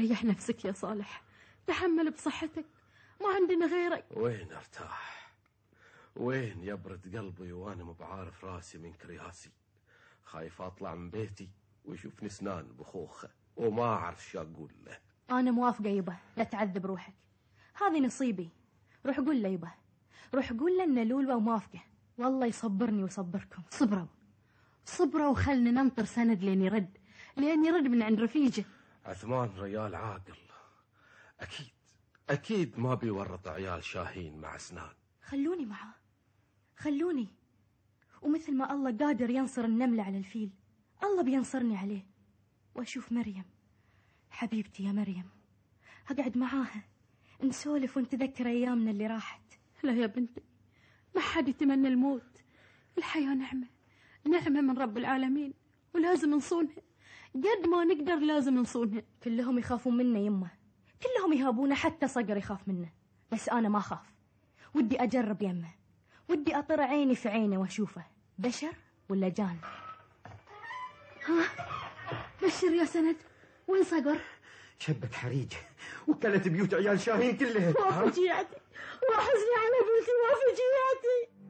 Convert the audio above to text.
ريح نفسك يا صالح، تحمل بصحتك، ما عندنا غيرك. وين ارتاح؟ وين يبرد قلبي وانا مو بعارف راسي من كرياسي؟ خايف اطلع من بيتي ويشوفني سنان بخوخه وما اعرف شو اقول له. انا موافقه يبا، لا تعذب روحك، هذه نصيبي. روح قول له يبا، روح قول له ان لولوة وموافقه، والله يصبرني ويصبركم. صبروا وخلنا ننطر سند لين يرد من عند رفيجه. عثمان ريال عاقل، اكيد ما بيورط عيال شاهين مع سنان. خلوني معاه، خلوني، ومثل ما الله قادر ينصر النملة على الفيل، الله بينصرني عليه. واشوف مريم حبيبتي يا مريم، اقعد معاها نسولف ونتذكر ايامنا اللي راحت. لا يا بنتي، ما حد يتمنى الموت، الحياة نعمة من رب العالمين، ولازم نصونها قد ما نقدر، لازم نصونها. كلهم يخافون منا يمه، كلهم يهابونه، حتى صقر يخاف منه، بس انا ما خاف. ودي اجرب يمه، ودي اطر عيني في عينه واشوفه بشر ولا جان. ها بشر يا سند، وين صقر؟ شبت حريج وكلت بيوت عيال شاهين كلها. وافجيعتي وحزني على بنتي وافجيعتي.